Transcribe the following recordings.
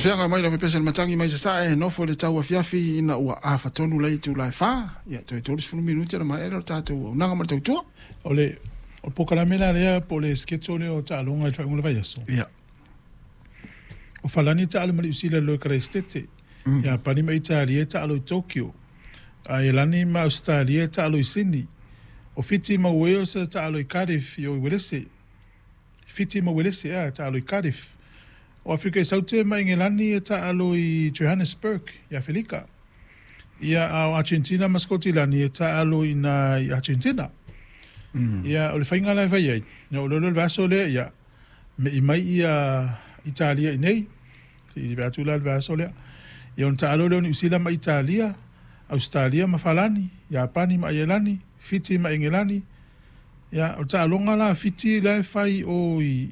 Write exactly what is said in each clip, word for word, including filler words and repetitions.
Feaga mai lau pesa le matangi mai sasae nofo le tau afiafi ina ua afatonu le itula e fa. Ia toe tolusefulu minute na maea le tatou auaunaga ma le tautua. O le o le polokalame la lea po o le schedule lea o taaloga i le faaiuga o le vaiaso. Ia. O Falani e taalo ma Niu Sila i le Karaisitete. Iapani ma Italia e taalo i Tokyo. Aielani ma Ausetalia e taalo i Sini. O Fiti ma Wales e taalo i Cardiff i o i Uelese. Fiti ma Uelese e taalo i Cardiff. O Afrika i Saute ma Engelani e taalo i Johannesburg i Afelika. Ia, a o Argentina ma Skotilani e taalo i ina i Argentina. Ia, o le faiga la e fai ai, ia o lea le vaiaso lea, ia, me'i mai ia Italia i nei, i vae atu la le vaiaso lea. Ia ona taalo lea o Niu Sila ma Italia, Ausetalia ma Falani, Iapani ma Aielani, Fiti ma Engelani. Ia, o le taaloga la a Fiti la e fai o i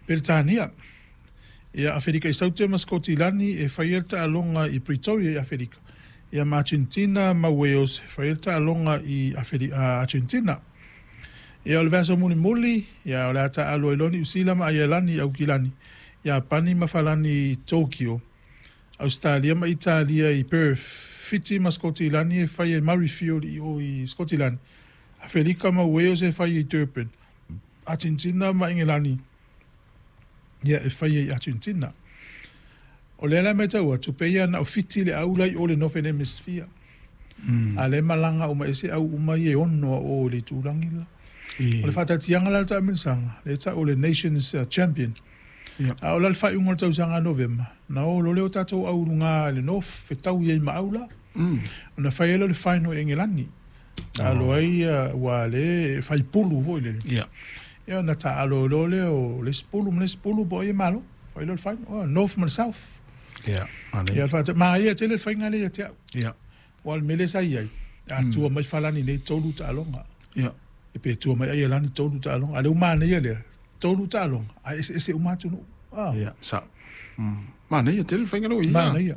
Peretania. Ia, Aferika i Saute ma Skotilani e faia le taaloga i Pretoria i Aferika. Ia, ma Argentina ma Wales e faia le taaloga i Aferi, Argentina. Ia, o le vaiaso mulimuli, ia, o le a taalo ai loa Niu Sila ma Aielani i Aukilani, Iapani ma Falani i Tokyo, Ausetalia ma Italia i Perth, Fiti ma Skotilani e faia i Murrayfield i o i Skotilani, Aferika ma Wales e faia i Durban, Argentina ma Engelani ia e faia i Argentina. O lea la e matau atu, pei lava na o Fiti le au la i o le Northern Hemisphere. A lea e malaga uma ese au uma ia e ono a o i le itulagi la. O le faataatiaga la o le taamilosaga, lea e tau o le Nations Champion. A o la le faaiuga o le tausaga Novema, na o loa lea o tatou au i luga i le North, fetaui ai ma au la. Ona fai ai lea o le final i Engelani. Taalo ai ua lea e fai pulu foi lele. Ia ona taalo loa lea o le isi pulu ma le isi pulu po o ai e malo. Fai loa le final, oh, North ma le South. Ia, Ia, manaia tele le faiga lea ia te au. Ia. Aua o le mea lea sa i ai, a tua mai Falani nei tolu taaloga. Ia. E pe tua mai Aielani tolu taaloga. A o lea ua manaia lea, tolu taaloga, ae eseese uma atunuu. Ah. Ia, sao. Mm. Manaia tele le faiga lea ua i ai. Manaia.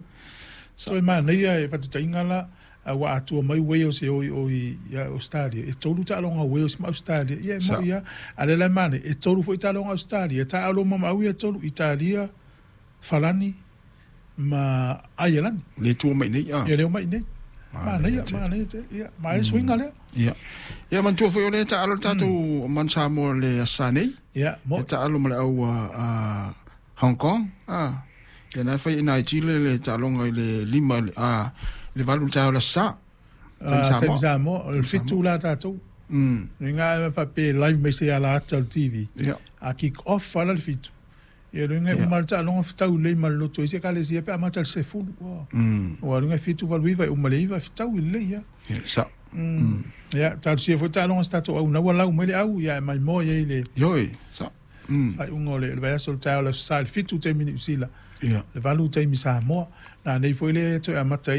Toe manaia e faataitaiga la, ua atua mai Wales e o i o i Australia, e tolu taaloga a Wales ma Australia. Ia e moni lava. A o lea la e manaia, e tolu foi taaloga a Australia, e taaalo uma ma au ia e tolu, Italia, Falani ma Aielani. Le tua mai nei, ah. Ia le o mai nei. Manaia, manaia tele. Ia, manaia suiga lea. Ia. Ia manatua foi o lea e taalo le tatou Manu Samoa le Aso Sa nei. Ia, E taalo ma le au a Hong Kong. Ah. Ia na e fai i nai Chile le taaloga i le lima a le valu le taeao le Aso Sa. Ah, taimi Samoa, o le fitu la tatou. Mm. Le ga faapea live mai se ala ata o le T V. Ia. A kick off ala le fitu. Ia luga e uma le taaloga fetau lelei ma le loto i se ekalesia pe amata i le sefulu. Ua luga e fitu valu iva e uma le iva fetau lelei lava. Ia, sao. Ia, talosia foi taaloga a se tatou au naua lau mai le au, ia e maimoa i ai le Ioe, sao. faaiuga o le vaiaso o le taeao o le Aso Sa i le fitu taimi Niu Sila, Ia. le valu taimi Samoa. Na nei foi lea e toe amata ai